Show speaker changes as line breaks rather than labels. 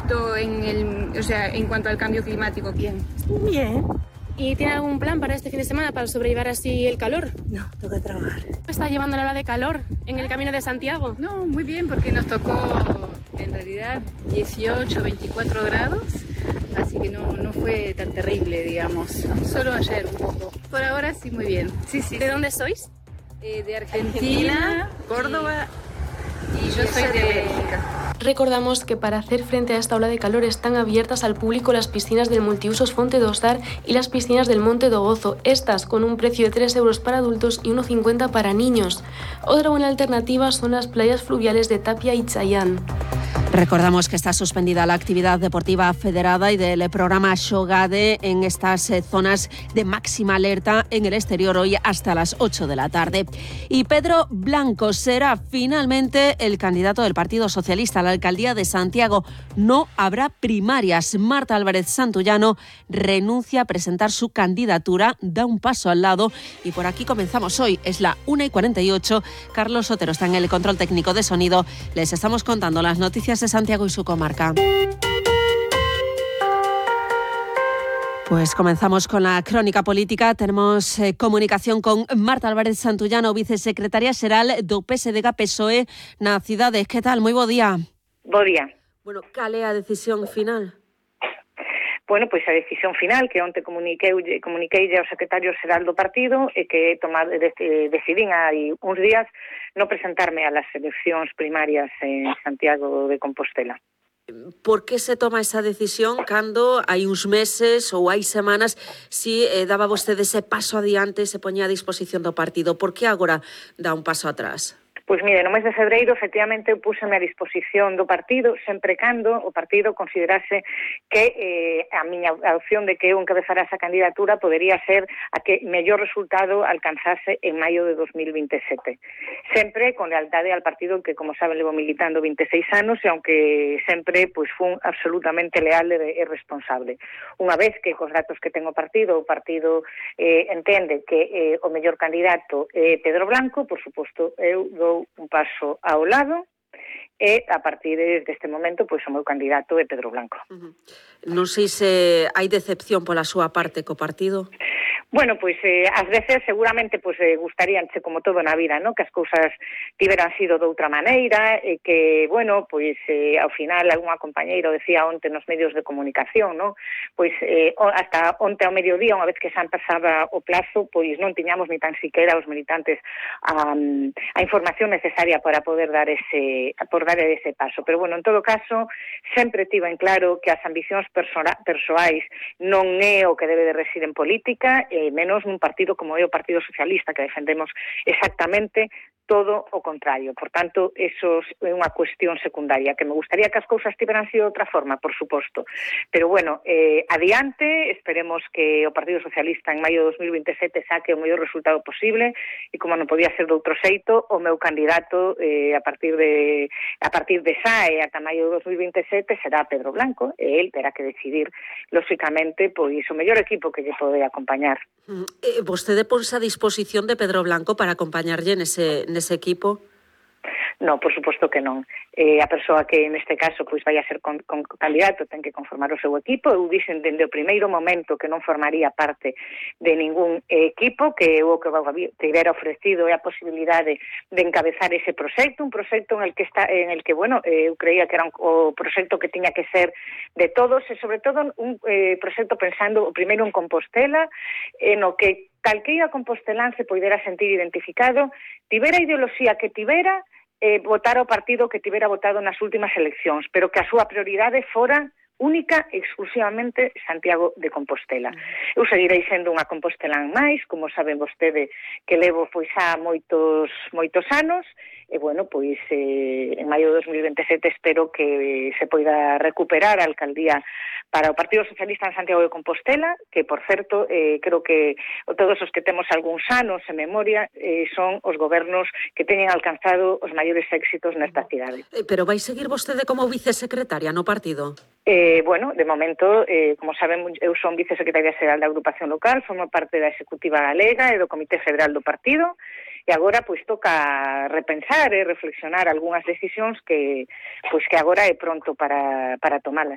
impacto en cuanto al cambio climático?
Bien.
¿Y tiene algún plan para este fin de semana para sobrellevar así el calor?
No, toca trabajar.
¿Está llevando la ola de calor en el Camino de Santiago?
No, muy bien, porque nos tocó en realidad 18, 24 grados, así que no fue tan terrible, digamos. Solo ayer un poco. Por ahora sí, muy bien. Sí.
¿De dónde sois?
De Argentina, Córdoba y yo soy de Bélgica.
Recordamos que para hacer frente a esta ola de calor están abiertas al público las piscinas del multiusos Fonte do Sar y las piscinas del Monte do Gozo, estas con un precio de 3 euros para adultos y 1,50 para niños. Otra buena alternativa son las playas fluviales de Tapia y Chayán.
Recordamos que está suspendida la actividad deportiva federada y del programa Xogade en estas zonas de máxima alerta en el exterior hoy hasta las 8 de la tarde. Y Pedro Blanco será finalmente el candidato del Partido Socialista a la alcaldía de Santiago. No habrá primarias. Marta Álvarez Santullano renuncia a presentar su candidatura, da un paso al lado y por aquí comenzamos hoy. Es la 1:48. Carlos Sotero está en el control técnico de sonido. Les estamos contando las noticias de Santiago y su comarca. Pues comenzamos con la crónica política. Tenemos comunicación con Marta Álvarez Santullano, vicesecretaria xeral do PSDG-PSOE na cidade. Que tal? Moi bo día.
Bo día.
Bueno, cal é a decisión final?
Bueno, pois a decisión final que onte comuniquei ao secretario xeral do partido e que decidín hai uns días non presentarme a las eleccións primarias en Santiago de Compostela.
Por que se toma esa decisión cando hai uns meses ou hai semanas si daba vostede ese paso adiante, se poñía a disposición do partido? Por que agora dá un paso atrás?
Pois mire, no mes de febreiro, efectivamente, púseme a disposición do partido, sempre cando o partido considerase que a miña opción de que eu encabezara esa candidatura podería ser a que mellor resultado alcanzase en maio de 2027. Sempre con lealtade al partido que, como saben, levo militando 26 anos e aunque sempre fun absolutamente leal e responsable. Unha vez que cos datos que ten o partido entende que o mellor candidato é Pedro Blanco, por suposto, eu dou un paso ao lado e a partir deste momento o meu candidato é Pedro Blanco.
Non sei se hai decepción pola súa parte co partido.
Bueno, ás veces seguramente gustaríanche como todo na vida, ¿no? Que as cousas tiveran sido de outra maneira e que, ao final algunha compañeira decía onte nos medios de comunicación, ¿no? Hasta onte ao mediodía, unha vez que xa pasaba o plazo, non tiñamos ni tan siquiera os militantes a información necesaria para poder dar ese paso. Pero, en todo caso, sempre tivo en claro que as ambicións persoais non é o que debe de residir en política, menos nun partido como é o Partido Socialista, que defendemos exactamente todo o contrario. Por tanto, eso é unha cuestión secundaria, que me gustaría que as cousas tiveran sido de outra forma, por suposto. Pero, adiante, esperemos que o Partido Socialista en maio de 2027 saque o mellor resultado posible e, como non podía ser de outro xeito, o meu candidato a partir de xa e ata maio de 2027 será Pedro Blanco e el terá que decidir, lóxicamente, o mellor equipo que lle pode acompañar.
Vostede ponse a disposición de Pedro Blanco para acompañarlle nese equipo?
No, por suposto que non. A persoa que neste caso vai a ser con candidato ten que conformar o seu equipo. Eu dixen dende o primeiro momento que non formaría parte de ningún equipo, que o que tivera ofrecido é a posibilidade de encabezar ese proxecto, un proxecto en el que eu creía que era o proxecto que tiña que ser de todos e sobre todo un proxecto pensando o primeiro en Compostela, no que calqueira compostelán se poidera sentir identificado, tivera ideoloxía que tivera, votar o partido que tivera votado nas últimas eleccións, pero que a súa prioridade fora única e exclusivamente Santiago de Compostela. Eu seguirei sendo unha compostelán máis, como saben vostede que levo xa moitos anos, e en maio de 2027 espero que se poida recuperar a alcaldía para o Partido Socialista en Santiago de Compostela, que, por certo, creo que todos os que temos algúns anos en memoria son os gobernos que teñen alcanzado os maiores éxitos nesta cidade.
Pero vai seguir vostede como vicesecretaria no partido?
De momento, como saben, eu son vicesecretaria xeral da agrupación local, formo parte da Executiva Galega e do Comité Federal do partido, e agora toca repensar e reflexionar algunhas decisións que agora é pronto para tomalas.